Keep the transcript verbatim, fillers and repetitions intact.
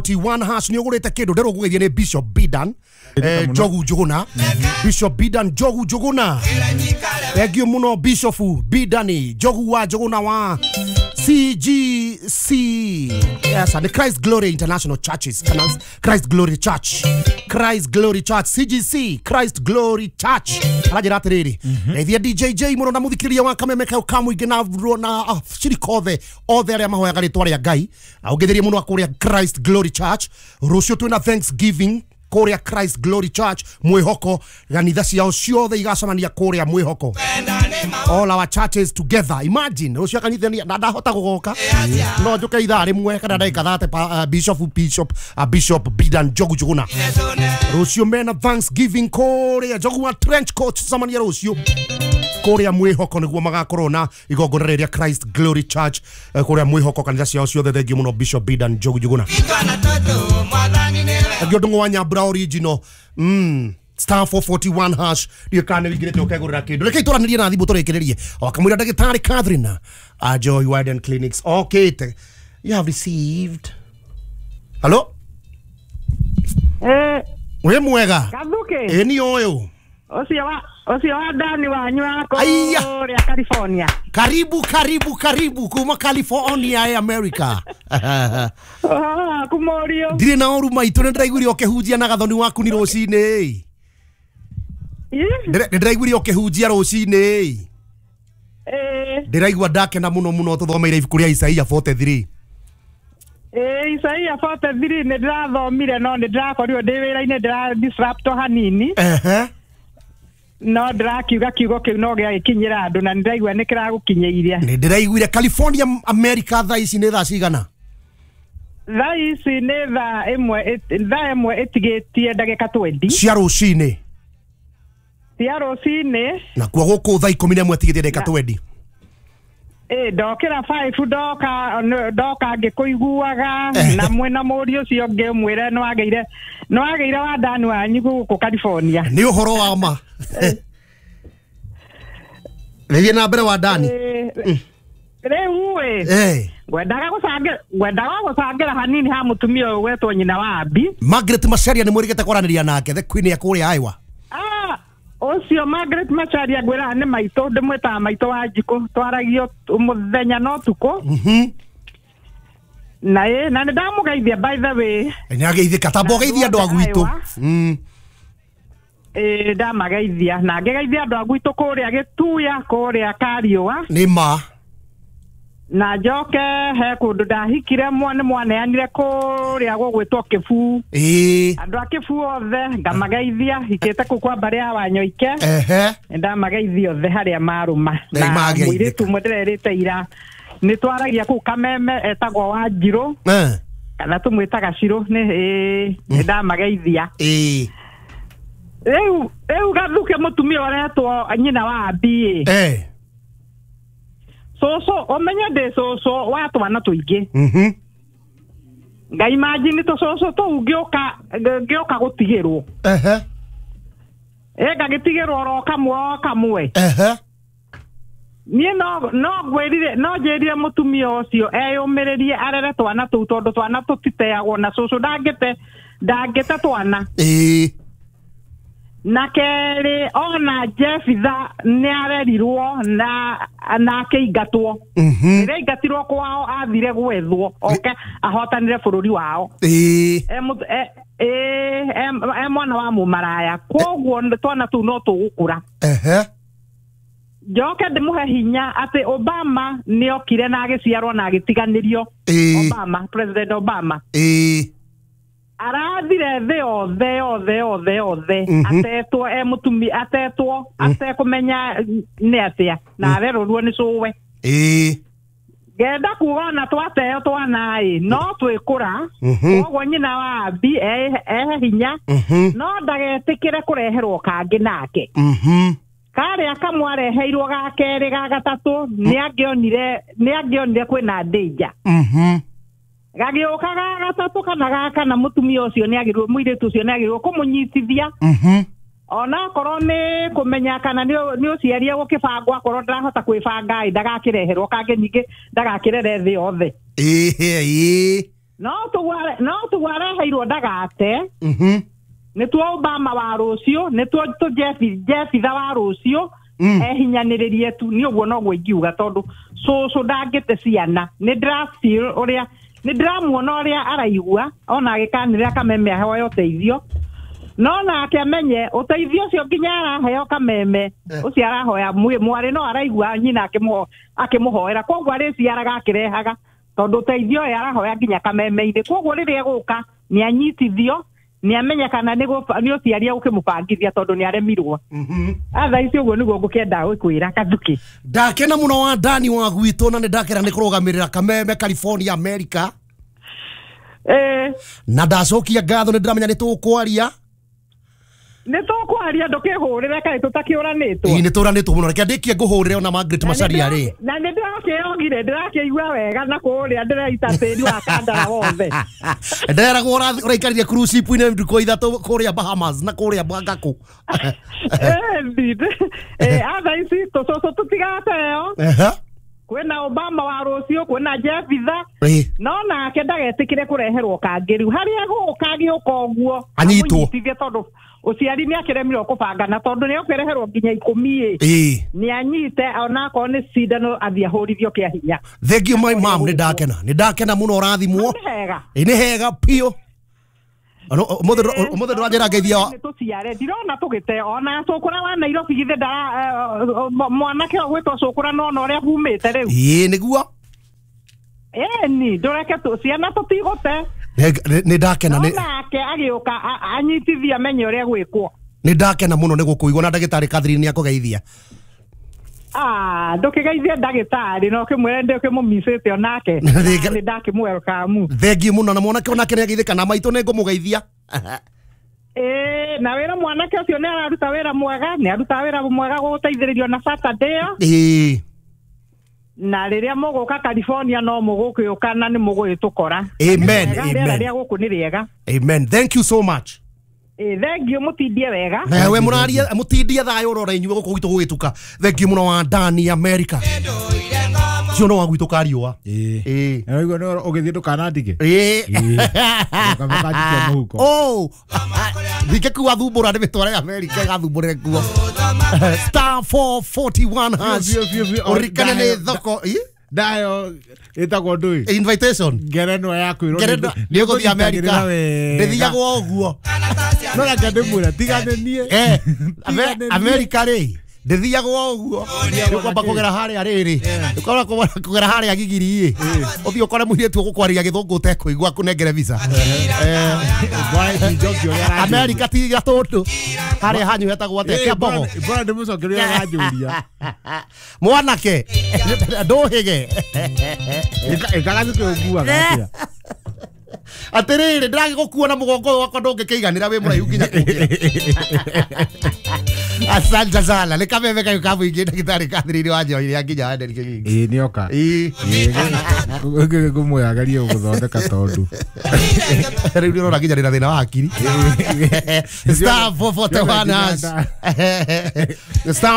forty-one hash ni ugurite kindu ndirå ngå geithia nä Bishop Bidan eh, Njogu Njuguna. Bishop Bidan Njogu Njuguna, thengio muno Bishop Bidani Njogu wa Njuguna wa C G C, yes, and the Christ Glory International Churches, Christ Glory Church, Christ Glory Church, C G C, Christ Glory Church. Arajira atiriri, geithia D J J muno na muthikiriria wa kameme kau kamuingi na na shirika othe othe aria mahoyaga ritwa ria Ngai. Na ungetherie muno kuria Christ Glory Church. Rucio twina Thanksgiving kuria Christ Glory Church mwihoko, kanitha ciao ciothe igacemania kuria mwihoko. All our churches together. Imagine ucio kanitha ni ndahota gugoka no njuke ithaa rimwe kana ndagika thate. Bishop Bishop uh, Bishop Bidan Njogu Njuguna rucio mena Thanksgiving kuria Njogu wa trench coat cemania rucio kuria mwihoko niguo magakorwo na igongona rĩrĩa Christ Glory Church kuria mwihoko kanitha ciao ciothe. Thengio muno Bishop Bidan Njogu Njuguna. Thengio ndungu wa Nyambura original. Mm star four forty-one hash ndio kana wingirite ukegurira kindu. Reke ituranĩrie na thimũ tũrĩkĩrĩrie wakamwĩra ndagĩtarĩ Catherine a Joy Widen Clinics. Okay, you have received. Hello, eh we mwega Kathuke eh ni ũyũ ũcio wa ũcio wa Dani wanyu wa kũrĩa California. Karibu karibu karibu kuma California ya America. Ah, kumorio ndirĩ na ũru maitũ, nĩ ndĩraiguire ũkĩhunjia na gathoni waku ni rũcinĩ. Nĩ ndĩraiguire ũkĩhunjia rũcinĩ. Ndĩraigua ndakena mũno mũno tũthomeire ibuku rĩa Isaia forty-three. Eh, Isaia forty-three nĩ ndĩrathomire no nĩ ndĩrakorirwo ndĩ wĩra-inĩ ndĩra disrupt hanini. Ehe. No ndĩrakiuga kiugo kĩu no gĩagĩkinyĩra andũ na nĩndĩraigua nĩ kĩragũkinyĩirie. Nĩ ndĩraiguire California America thaa ici nĩ thaa cigana? Thaa ici nĩ thaa ĩmwe thaa ĩmwe ĩtigĩtie ndagĩka twenty cia rũcinĩ. Cia rũcinĩ. Na kuo gũkũ thaa ikũmi na ĩmwe ĩtigĩtie ndagĩka twenty. Eh, ndokĩra five ndoka ndoka ngĩkũiguaga na mwĩna mũriũ ũcio ũngĩ ũmwĩre nĩ wagĩire nĩ wagĩire wa Dani wanyu gũkũ California. Nĩ ũhoro wa ma. Rĩthiĩ na mbere wa Dani. Rĩu ĩ ngwendaga gũcangĩra ngwendaga gũcangĩra hanini ha mũtumia ũyũ gwetwo nyina wa Abi Margaret Macharia. Nĩ mwĩrĩgĩte kwaranĩria nake the queen ya kũrĩa Iowa. Ũcio Margaret Macharia ngwĩraga nĩ maitũ, ndĩmwĩtaga maitũ wa njikũ, twaragio mũthenya na ũtukũ. Na ĩ na nĩ ndamũgeithia by the way. Nĩ ageithĩka, tamba ũgeithie andũ a gwitũ. Ĩ ndamageithia na ngĩgeithia andũ a gwitũ kũrĩa Gĩtuya kũrĩa Kariũa. Nĩ ma. Na njoke he kũndũ ndahikire mwana mwaneanire kũrĩa gũgwĩtwo Kĩbuu. Ĩĩ. Andũ a Kĩbuu othe ngamageithia, hikĩte kũu kwa mbarĩ ya Wanyoike. Ehe. Ndamageithia othe harĩa marũma. Na mũirĩtu ũmwe ndĩrerĩte ira nĩ twaragia kũu Kameme etagwo Wanjirũ. Eh. Kana tũmwĩtaga Cirũ nĩ ĩĩ ndamageithia. Ĩĩ. Rĩu rĩu Gathuke mũtumia ũretwo nyina wa Abi. Eh. Cũcũ ũmenye ndĩ cũcũ wa twana tũingĩ. Mhm. Nga imagine tũcũcũ tũu ngĩũka ngĩũka gũtigĩrwo. Ehe. Ĩ ngagĩtigĩrwo oro kamwe o kamwe. Ehe. Niĩ no no ngwĩrire no njĩrire mũtumia ũcio eyũmĩrĩrie arere twana tũu tondũ twana tũtiteagwo na cũcũ ndangĩte ndangĩte twana. Ĩĩ. Na kerĩ ona Jefitha nĩ arerirwo na na akĩingatwo. Rĩrĩa aingatirwo kwao athire gwethwo oke ahotanire bũrũri wao. Ĩĩ. E mwana wa mũmaraya koguo twana tũu no tũgũkũra. Ehe. Njoke ndĩmũhe hinya atĩ Obama nĩ okire na agĩciarwo na agĩtiganĩrio. Obama, President Obama. Ĩĩ. Arathire thĩ yothe yothe yothe yothe atetwo e mũtumi atetwo atekũmenya nĩ atĩa na arerorwo nĩ cũwe. Ĩĩ. Ngenda kuga ona twateo twana ĩ no twĩkũra koguo nyina wa Abi ehe hinya no ndagetĩkĩre kũreherwo kangĩ nake. Karĩa kamwe areheirwo ga kerĩ ga gatatũ nĩ angĩonire nĩ angĩonire kwĩna danger. Gagĩũka ga gatatũ kana ga kana mũtumia ũcio nĩ agĩrĩirwo mũirĩtu ũcio nĩ agĩrĩirwo kũmũnyitithia. Ona akorwo nĩ kũmenya kana nĩ ũciari egũkĩbangwo akorwo ndarahota kwĩbanga ĩ ndagakĩreherwo kangĩ ningĩ ndagakĩrere thĩ yothe. Ĩĩ. No tugware no tugwareheirwo ndagate. Mhm. Nĩ tuo Obama wa rũciũ, nĩ tuo tu Jeff Jeffitha wa rũciũ. Ehinyanĩrĩrie tu nĩ ũguo noguo ingiuga tondũ cũcũ ndangĩte ciana. Nĩ ndĩra feel ũrĩa nĩ ndĩramuona ũrĩa araigua ona agĩkanĩrĩra Kameme ahoe ũteithio. No nake amenye ũteithio ũcio nginya araheo Kameme ũcio arahoya mwarĩ no araigua nyina akĩmũho akĩmũhoera koguo arĩciaraga akĩrehaga tondũ ũteithio ũyũ arahoya nginya Kameme-inĩ koguo rĩrĩa egũka nĩ anyitithio nĩ amenye kana nĩ ũciari ũkĩmũbangithia tondũ nĩ aremirwo. Atha ici ũguo nĩguo ngũkĩenda gũkwĩra Kathuki. Ndakena mũno wa Dani wa gwitũ na nĩ ndakena nĩ kũrũgamĩrĩra Kameme California America. Eh. Na ndacokia ngatho nĩ ndĩramenya nĩ tũkwaria. Nĩ tũkwaria ndũkĩhũrĩre kaĩ tũtakĩũranĩtwo. Ĩĩ nĩ tũranĩtwo mũno reke ndĩkie ngũhũrĩre ona Margaret Macharia rĩ. Na nĩ ndĩrakĩogire ndĩrakĩigua wega na kũrĩa ndĩraita tĩri wa kandara wothe. Nderagwo ũraikarire cruise ship-inĩ ndukũ ithatũ kũrĩa Bahamas na kũrĩa Bangkok. Eh atha ici tũcũcũ tũtigateo. Kwĩna Obama wa rũciũ kwĩna Jeffitha no nake ndagetĩkĩre kũreherwo kangĩ rĩu harĩa egũka agĩũka ũguo anyitwo amũnyitithie tondũ ũciari nĩ akĩremirwo kũbangana tondũ nĩ ũkĩreherwo nginya ikũmi ĩ nĩ anyite onakorwo nĩ cindano athiĩ ahũrithio kĩa hinya. Thank you my mom nĩ ndakena nĩ ndakena mũno ũrathimwo. Nĩ hega piũ. Ũmũthĩ ndũranjĩra ngeithia tũciare ndirona tũgĩte ona cũkũra wa Nairobi githĩ ndara mwanake ũyũ gwĩtwo cũkũra nona ũrĩa humĩte rĩu. Ĩĩ nĩguo. Ĩni ndũreke ciana tũtigũte. Nĩ ndakena nĩ nake agĩũka anyitithia amenye ũrĩa gwĩkwo. Nĩ ndakena mũno nĩ gũkũigua na ndagĩtarĩ Catherine nĩ akũgeithia. Ah ndũkĩgeithie ndagĩtarĩ no ũkĩmwĩre ndĩ ũkĩmũmicĩte onake nĩ ndakĩmwelcome. Thengiũ mũno na mwanake onake nĩ ageithĩka na maitũ nĩ ngũmũgeithia. Ĩĩ na wĩra mwanake ũcio nĩ araruta wĩra mwega nĩ aruta wĩra mwega gũgũteithĩrĩrio na Saturday ĩyo. Ĩĩ. Na rĩrĩa mũgũka California no mũgũkĩũka na nĩ mũgũgĩtũkora. Amen. Rĩera rĩa gũkũ nĩ rĩega. Amen. Thank you so much. Eh thank you mũtindie wega. Nawe mũraria mũtindie thayũ ũrora inyuĩ gũkũ gwitũ gũgĩtuka. Thank you mũno wa Dani America. Cio no wa gwitũ kariũa. Ĩĩ. Ĩĩ. Na ũguo no ũgĩthiĩ ndũkanandike. Ĩĩ. Ũkamũkanjikia mũhuko. Oh. Ndingĩkua thumbũra ndĩmĩtware America ĩgathumbũrĩre kuo. Star four forty-one hash. Ũririkane nĩ thoko. Ndayo ĩtagwo ndũĩ. Invitation. Ngerenwa ya kwĩrwo nĩ ũgũthiĩ America. Ndĩthiagwo ũguo. No reke ndĩmwĩre tigane niĩ. Eh America rĩ ndĩthiagwo ũguo. Nĩũkwamba kũgera harĩa rĩrĩ. Ũkora kũgera harĩa gigiri ĩ. Ũthiĩ ũkore mũirĩtu ũgũkwarĩria gĩthũngũ ũtekũigua akũnengere visa. America ti gatũndũ. Harĩa hanyu hetagwo atĩa Kĩambogo. Bora ndĩmũcokerie ũrĩa aranjũria. Mwanake ndũhĩge. Ĩkagathukĩ ũnguaga atĩa. Atĩrĩrĩ ndĩragĩgũkua na mũgongo ũyũ wakwa ndũngĩkĩiganĩra wĩ mũraihu nginya kũngĩra. Asante sana. Nĩ kameme kayũ ka mũingĩ ndagĩtarĩ Catherine wa Njohi nginya wa Derek King. Ĩĩ nĩoka. Ĩĩ. Ngũmwĩra agerie gũgũthondeka tondũ. Rĩu nĩ ũrona nginya ndĩna thĩna wa hakiri. Star four forty-one hash. Star